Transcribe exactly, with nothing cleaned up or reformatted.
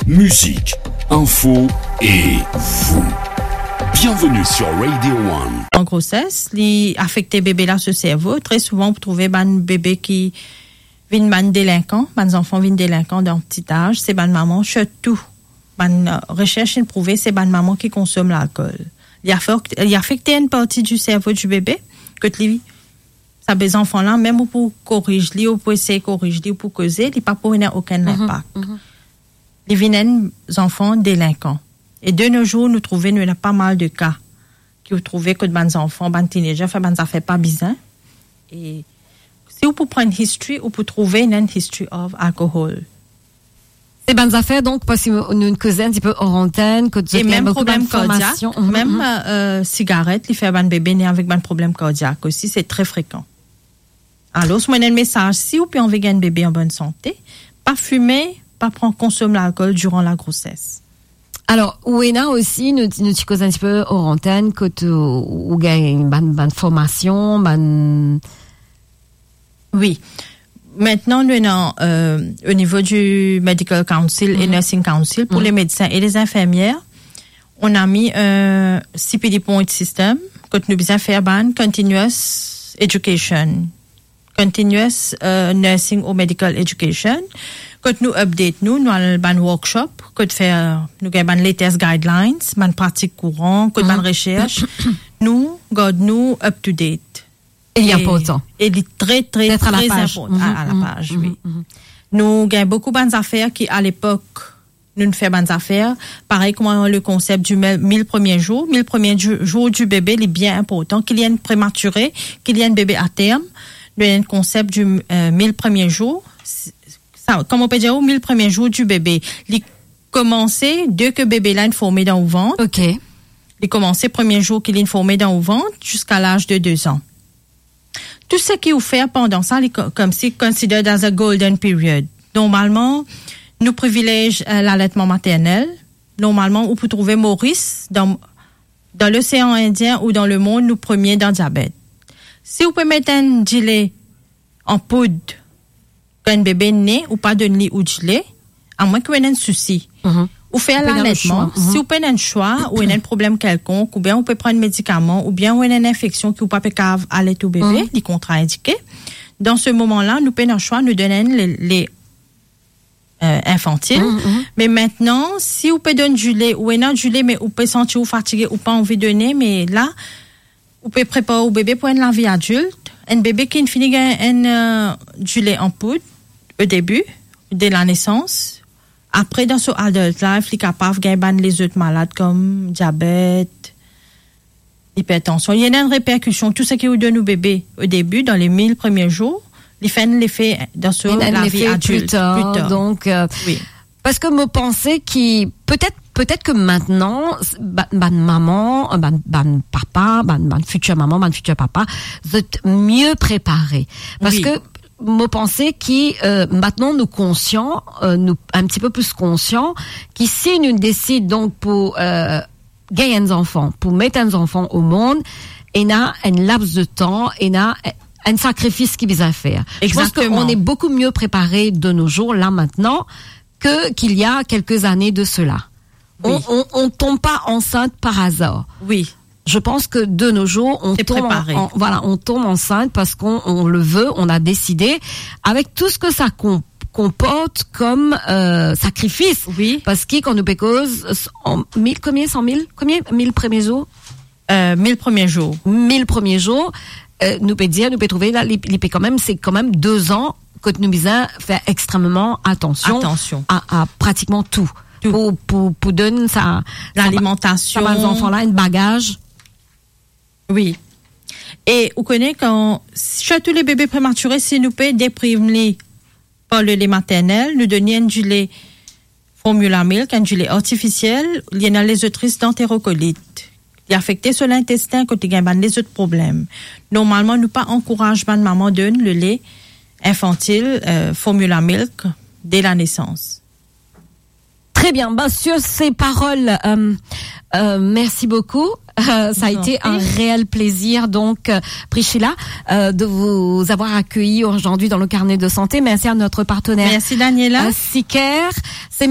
Mizik, info e vous. Bienvenue sur Radio One. An groses, li afekte bebe la so servo. Tre souvan, ou pou trouve bann bebe ki vinn bann delinkan, bann zanfan vinn delinkan dan pti az, se bann mama, sirtou bann, euh, resers inn prouve se bann mama ki konsom lalkol. Li afek-, li afekte enn parti di servo di bebe, kot li, sa be zanfan la, mem ou pou koriz li, ou pou esey koriz li, ou pou koze, li pa pou ena okenn linpak. Li vinn enn zanfan delinkan. E de no zour, nou trouve, nou ena pa mal de ka ki ou trouve kot bann zanfan, bann teenager, fer bann zafer pa bizin. E si ou pou pran history, ou pou trouve ena enn history of alcohol. Se bann zafer, donk, parski nou, nou koze enn tipe or antenn, kot zot ena boukou bann formasion. E mem problem kardiak, mem, euh, euh, sigaret, li fer bann bebe ne avek bann problem kardiak osi, se tre frekan. Alor, mwa, enn mesaz, si ou pe anvi gagn bebe an bonn sante, pa fime, pa pran, konsom lalkol diran lagroses. Alor, ou ena osi, nou, nou ti koz enn tipe or antenn, kot ou, ou gagn bann, bann formasion, bann... Wi. Mintnan, nou ena, euh, o nivo di Medical Council e Nursing Council, pou le medsin e le zinfermier, on a mis, euh, C P D point system, kot nou bizin fer bann continuous education, continuous, euh, nursing ou medical education, kot nou update nou, nou al bann workshop, kot fer, nou gagn bann latest guidelines, bann pratik kouran, kot bann resers, nou gard nou up to date. E li inportan. E li tre, tre, tre inportan. D'être à la page. A, à la page, wi. Nou gagn boukou bann zafer ki, a lepok, nou fer bann zafer, parey kouma le konsep di mil, mil premie zour, mil premie di-, zour di bebe, li bien inportan, ki li enn prematire, ki li enn bebe a term, nou ena enn konsep di, euh, mil premie zour, sa, kouma ou pe dir, mil premie zour di bebe, li komanse de ke bebe la inn forme dan ou vant. Ok. Li komanse premie zour ki li inn forme dan ou vant, ziska laz de de zan. Tou seki ou fer pandan sa, li ko-, koumsi considered as a golden period. Normalman, nou privilez, euh, laletman maternel. Normalman, ou pou trouve Moris dan, dan Losean Indien ou dan lemond, nou premie dan diabet. Si ou pe met enn dile an poud, kan enn bebe ne, ou pa donn li ou dile, amwin ki ou ena enn sousi. Ou fer laletman, si ou pena swa, ou ena enn problem kelkonk, oubien ou pe pran medikaman, oubien ou ena enn infeksion ki ou pa pe kav alet ou bebe, li kontraindike. Dan se moman la, nou pena swa, nou donn enn le, le, euh, infantil. Me mintnan, si ou pe donn dile, ou ena dile, me ou pe santi ou fatige, ou pa anvi done, me la, ou pe prepar ou bebe pou enn lavi adilt. Enn bebe ki fini gagn enn, euh, dile an poud, o debi, de la nesans, apre dan so adult life, li kapav gagn bann lezot malad kom diabet, ipertansion. Li ena enn reperkision, tou seki ou donn ou bebe o debi, dan le mil premie zour, li fer enn lefe dan so lavi adilt pli tar. Donk, euh, parski mo panse ki, petet, petet ke mintnan, s-, ba-, bann mama, bann, bann papa, bann, bann fitir mama, bann fitir papa, zot mie prepare. Parski mo panse ki, euh, mintnan nou konsian, euh, nou enn tipe pli konsian, ki si nou desid donk pou, euh, gagn enn zanfan, pou met enn zanfan o mond, ena enn laps de tan, ena enn sakrifis ki bizin fer. Je pense que on est beaucoup mieux préparé de nos jours, là, maintenant, que, qu'il y a quelques années de cela. On, on, on tombe pas enceinte par hasard. Je pense que de nos jours, on tombe en, en, voilà, on tombe enceinte parce qu'on, on le veut, on a décidé, avec tout ce que ça com-, comporte comme, euh, sacrifice. Parski kan nou pe koz, an mil, konbien, san mil, konbien, mil premie zour? Euh, mil premie zour. Mil premie zour, euh, nou pe dir, nou pe trouve la, li, li pe kanmem, se kanmem de zan kot nou bizin fer extrememan atansion a, a pratikman tou. Pou, pou, pou donn sa, sa, sa bann zanfan la enn bagaz. Wi. E ou kone kan, sirtou le bebe prematire, si nou pe depriv li par le le maternel, nou donn li enn dile formula milk, enn dile artifisiel, li ena lezot risk danterokolit. Li afekte so lintestin kot li gagn bann lezot problem. Normalman, nou pa ankouraz bann mama donn le le infantil, euh, formula milk de la nesans. Très bien. Bah, sur ces paroles, euh, euh, merci beaucoup. Euh, ça a été un réel plaisir, donc, euh, Priscilla, euh, de vous avoir accueilli aujourd'hui dans le carnet de santé. Merci à notre partenaire, euh, Sicker. Merci, Daniela. C'est